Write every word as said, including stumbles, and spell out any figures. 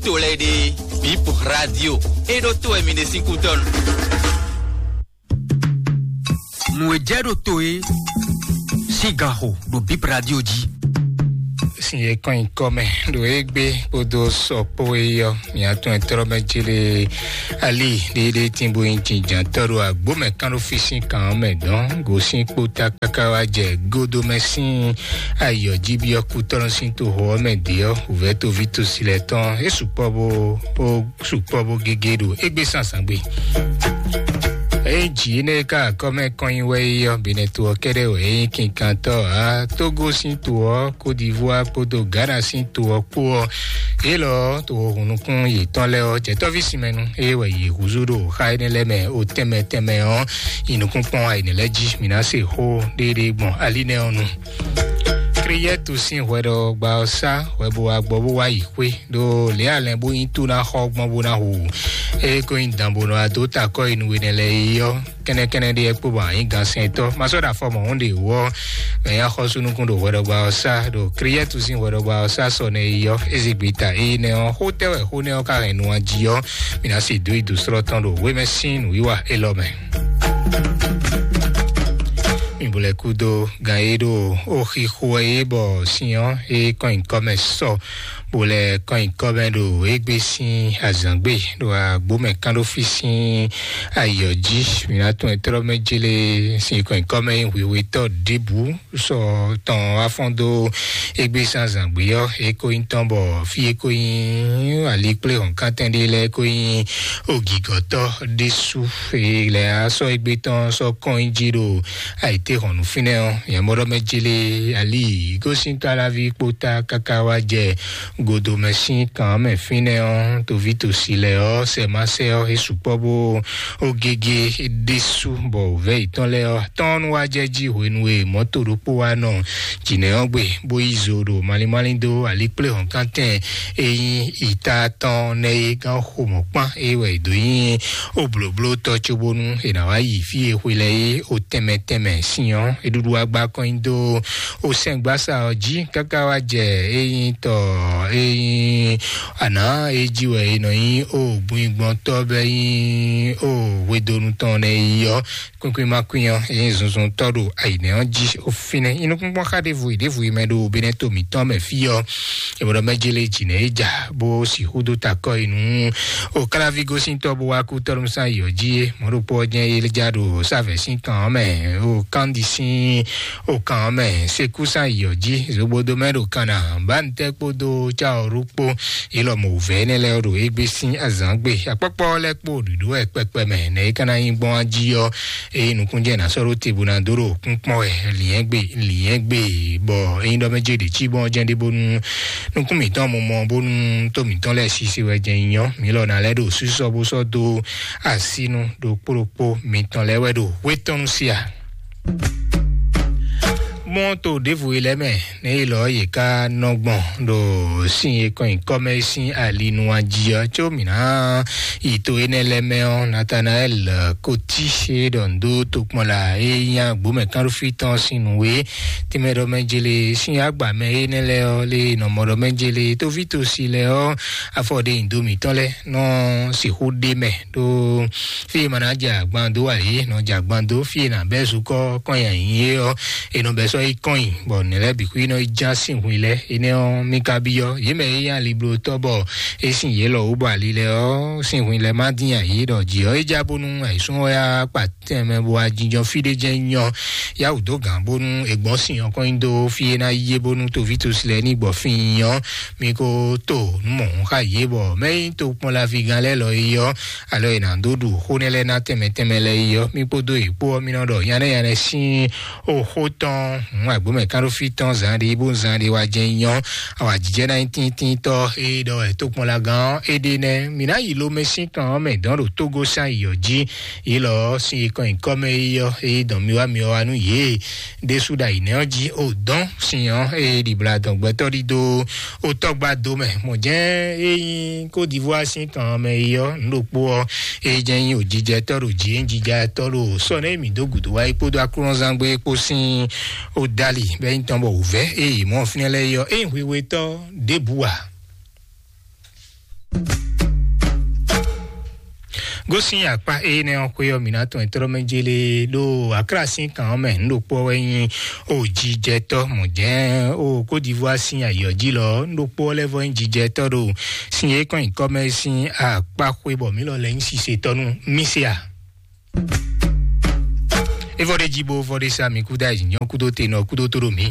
To lɛ́ɛ ɖe, Bip Radio, e ɖo to wɛ mi ɖe sín kútɔ́nu. Nǔ e jɛ ɖo to e sín ganxo ɖo Bip Radio jí. Sin e kɔn nyi kɔ mɛ ɖo égbé kpódó sɔ kpó e yɔ, mia tún e tlɔ́ mɛ jele ali ɖéɖé tín bó nyi jǐjǎntɔ́ ɖo agbǒ mɛ kán ɖo fí sín kan ɔ́ mɛ dɔn gosín kpóta káká wá jɛ gódó mɛ sín ayɔ jí byɔ́ kútɔ́nú sín toxo ɔ́ mɛ dě ɔ́, wǔvɛ́ toví tosilɛ tɔn é sukpɔ́ bó bó sukpɔ́ bó gégé ɖo égbé zǎnzǎn gbe. Ényí jǐ énɛ́ e ká akɔ́mɛ kɔn nyi wɛ é ɔ́, Benɛto ɔ́ kɛ́ɖɛ́ wɛ é nyí kinkantɔ́ ǎ. Tógó sín to ɔ́, Kódivúá kpódó Gana sín to ɔ́ kpó ɔ́, yě lɔ ɔ́, to hunukún yětɔn lɛ́ɛ ɔ́, jɛ̌tɔ́ví sinmɛnu é wɛ yě húzú ɖo xá énɛ́ lɛ́ɛ mɛ o tɛnmɛ tɛnmɛ ɔ́, yi nukúnkpɔ́n ayǐnɛ́ lɛ́ɛ jí. Mǐ ná se xó ɖéɖé gbɔn ali nɛ́ ɔ́ nu. Kliyɛ́tu sín hwɛɖɔgba ɔ́ sá hwɛ bó wá gbɔ bó wá yi xwé ɖó lě alɛn bó nyí tú ná xɔ gbɔn bó ná hu. Ée ko nyí dan bó nɔ wá dó takɔ yi nú we nɛ lɛ́ɛ é ɔ́, kɛ́nɛkɛ́nɛ ɖé kpó bɔ anyǐ gansɛntɔ́ ma sɔ́ ɖo afɔ mɔ̌hun ɖě wú ɔ́, mɛ nyí axɔ́súnukún ɖo hwɛɖɔgba ɔ́ sá ɖo Kliyɛ́tu sín hwɛɖɔgba ɔ́ sá sɔ nɛ yi ɔ́, Ezigbita éyí nɛ ɔ́, xó tɛ́ wɛ xó nɛ́ ɔ́ ka hɛn nu jí ɔ́, mi ná se dó yi dǒ slɔ́ tɔn ɖo wémɛ sín nǔwiwa élɔ́ mɛ. Mi bo lɛ́ kúdó gan e ɖo ó xixo wɛ é bɔ sin ɔ́ é kɔn nyǐkɔ mɛ sɔ, bo lɛ́ kɔn nyǐkɔ mɛ ɖo égbé sín azǎngbe ɖo agbǒ mɛ kán ɖó fí sín ayǐ ɔ́ jí. Mi ná tunwun e tlɔ́ mɛ jélé sin kɔn nyǐkɔ mɛ nyí hwihwitɔ́ ɖěbǔ sɔ tɔn wá fɔ́n dó égbé sín azǎngbe ɔ́, é ko nyí tɔn bɔ fí é ko nyí ali kplé hɔ̌nkántɛn ɖé lɛ́ɛ ko nyí ogǐgɔ́tɔ́ ɖésú. È lɛ̌ á sɔ́ égbé tɔn sɔ́ kɔn nyi jí ɖo ayǐtéhɔ̌nnu fínɛ́ ɔ́, nyɛ mɔ ɖɔ mɛ jélé ali gosín káláví kpóta káká wá jɛ godomɛ sín kan mɛ fínɛ́ ɔ́, toví tosi lɛ́ɛ ɔ́, sɛ ma sɛ ɔ́, é sukpɔ́ bó ó gégé ɖésú bɔ wǔvɛ́ yětɔn lɛ́ɛ ɔ́ tɔ́n nú wá jɛ jí hwenu e mɔ̌to ɖokpó wá nɔ jǐnɛ ɔ́ gbe, bó yí zo ɖo malín málín dó ali kplé hɔ̌nkántɛn e nyí ìta tɔn nɛ́ é gán xo mɔ̌ kpán é wɛ è dǒ nyi ó blǒbló tɔ́ cóbónú è nǎ wá yi fí e xwe lɛ́ɛ é ó tɛnmɛ tɛnmɛ sin ɔ́, é ɖuɖu wá gbá kɔn nyi dó ó sɛ́ngbásá ɔ́ jí káká wá jɛ é nyí tɔ é nyí àná é jí wɛ è nɔ nyí ó gbingbɔntɔ́ bɛ́ nyí ó hwedonu tɔn nɛ́ é yí ɔ́, kwín kwín má kwín ɔ́, é nyí zunzun tɔ́ ɖo ayǐnɛ́ ɔ́ jí ó fínɛ́. Inúkúngbɔ́n xá ɖěvo yi ɖěvo yi mɛ ɖo Benɛto mǐtɔn mɛ fí ɔ́, è mɔ ɖɔ mɛ jélé jǐnɛ é ja bó sixú dó takɔ yi nú o káláví gosíntɔ́ bó wá kú tɔ́ɖúmúsán yi ɔ́ jí é. Mɔ̌ ɖokpó ɔ́ jɛ́n é já ɖo sávɛ̌ sín kan ɔ́ mɛ, o kándi sín o kan ɔ́ mɛ, sekúsán yi ɔ́ jí, zogbodo mɛ ɖo kan ná, bánitɛ́ kpódó cáɔrú kpó, é lɔ mɔ wǔvɛ́ énɛ́ lɛ́ɛ ɖo égbé sín azǎngbe. Akpɔ́kpɔ́ lɛ́ɛ kpó ɖuɖu wɛ kpɛkpɛ mɛ, nɛ̌ é ka ná nyí gbɔn jí ɔ́, eye nukúnjɛ ná sɔ́ ɖó te bó ná dó ɖo kúnkpɔ́n wɛ, lǐnyɛ́gbe, lǐnyɛ́gbe, bɔ ényí ɖɔ mɛ jɛ ɖě cí gbɔn jɛ́n ɖé bónú nukún mǐtɔn mɔ mɔ bónú tó mǐtɔn lɛ́ɛ sise wɛ jɛ́n nyí ɔ́, mǐ lɔ ná lɛ́ ɖo sísɔ bó sɔ́ dó asínú ɖokpó ɖokpó mǐtɔn lɛ́ɛ wɛ ɖo wétɔ́nú sí a. Mɔto ɖěvo e lɛ́ɛ mɛ, nɛ̌ e lɔ yě ká nɔ gbɔn ɖo sin e kɔn nyi kɔ́ mɛ sín ali nu a jí ɔ́, có mǐ ná yi to énɛ́ lɛ́ɛ mɛ ɔ́, Natanaɛl Koti e ɖɔ nǔ dó tokpɔnla e nyí agbǒmɛ kánɖófí tɔn sín nǔ e tɛnmɛ ɖɔ mɛ jele sín agba mɛ énɛ́ lɛ́ɛ ɔ́, lé nɔ mɔ ɖɔ mɛ jele tóví tosi lɛ́ɛ ɔ́, afɔ ɖe nyi do mǐtɔn lɛ́ɛ nɔ sixú ɖe mɛ ɖó fí e ma ná jɛ agban dó ǎ é, nɔ jɛ agban dó fí e nǎ bɛ́ zukɔ́ kɔn nyi ayǐ é ɔ́, è nɔ bɛ́ sɔ́ yi kɔn nyi, bɔ nɛ̌ lɛ́ɛ bǐ xwí nɔ yi já sín hwin lɛ́ɛ. Énɛ́ ɔ́, mí ka byɔ́ yě mɛ e nyí aliblotɔ́ bɔ é sin yě lɔ wú bɔ ali lɛ́ɛ ɔ́, sín hwin lɛ́ɛ má dín ayǐ ɖɔ jǐ ɔ́, é já bónú ayǐsún ɔ́ yá kpa tɛnmɛ bó wá jínjɔ́n fí ɖé jɛ́n nyɔ yá wǔ dó gǎn bónú è gbɔn sin ɔ́ kɔn nyi dó fí é ná yí é bónú toví tosi lɛ́ɛ ní gbɔ fí nyi ɔ́, mi ko to nǔ mɔ̌hun xá yě bɔ mɛ nyí tokpɔnlaví gán lɛ́ɛ lɔ é ɔ́, alɔ è nǎ dó ɖu xó nɛ́ lɛ́ɛ ná tɛnmɛ tɛnmɛ lɛ́ɛ é ɔ́, mí kpódó yě kpó ɔ́, mí nɔ ɖɔ nyanɛ́ nyanɛ́ sín oxó tɔn hǔn agbǒmɛ kánɖófí tɔn zǎn ɖé bó zǎn ɖé wá jɛ́n nyɔ awǎjijɛ ná nyí tíntíntɔ́ é ɖɔ wɛ tokpɔnlagán ɔ́ é ɖe nɛ́. Mǐ ná yi lomɛ sín kan ɔ́ mɛ dɔn ɖo Tógó sín ayǐ ɔ́ jí. Yě lɔ ɔ́, sin e kɔn nyǐkɔ mɛ é ɔ́, é dɔn mi wá mi wá nú yě ɖésú ɖo ayǐ nɛ́ ɔ́ jí. O dɔn sin ɔ́, é ɖibla dɔn gbɛtɔ́ ɖídó o tɔ́gbá dó mɛ. Mɔ̌ jɛ́n é nyí Côte d'Ivoire sín kan ɔ́ mɛ é ɔ́, nǔ ɖokpó ɔ́, é jɛ́n nyí òjijɛtɔ́ ɖo jǐ, é nyí jijɛtɔ́ ɖo sɔ́ nɛ́ mǐ dó gǔdo wá é kpódó aklúnɔzángbé kpó sín o dali bɔ é nyí tɔn bɔ wǔvɛ́ é yě mɔ fínɛ́ lɛ́ɛ é ɔ́, é nyí hwihwetɔ́ ɖěbǔ ǎ. Gosín akpá énɛ́ ɔ́ xwé ɔ́, mǐ ná tɔn ɛtɔ́ mɛ jélé ɖó Akra sín kan ɔ́ mɛ. Nǔɖokpó ɔ́ wɛ nyí o jijɛtɔ́ mɔ̌ jɛ́n o Côte d'Ivoire sín ayǐ ɔ́ jí lɔ. Nǔɖokpó ɔ́ lɛ́ vɔ nyí jijɛtɔ́ ɖo sin e kɔn nyǐkɔ mɛ sín akpá xwé bɔ mǐ lɔ lɛ́ nyí sisetɔ́ nú mì se a. É vɔ ɖé jí bó vɔ ɖé sá mi kúdó ayǐ nyɔ́ kúdó te nɔ kúdó tó ɖo mǐ.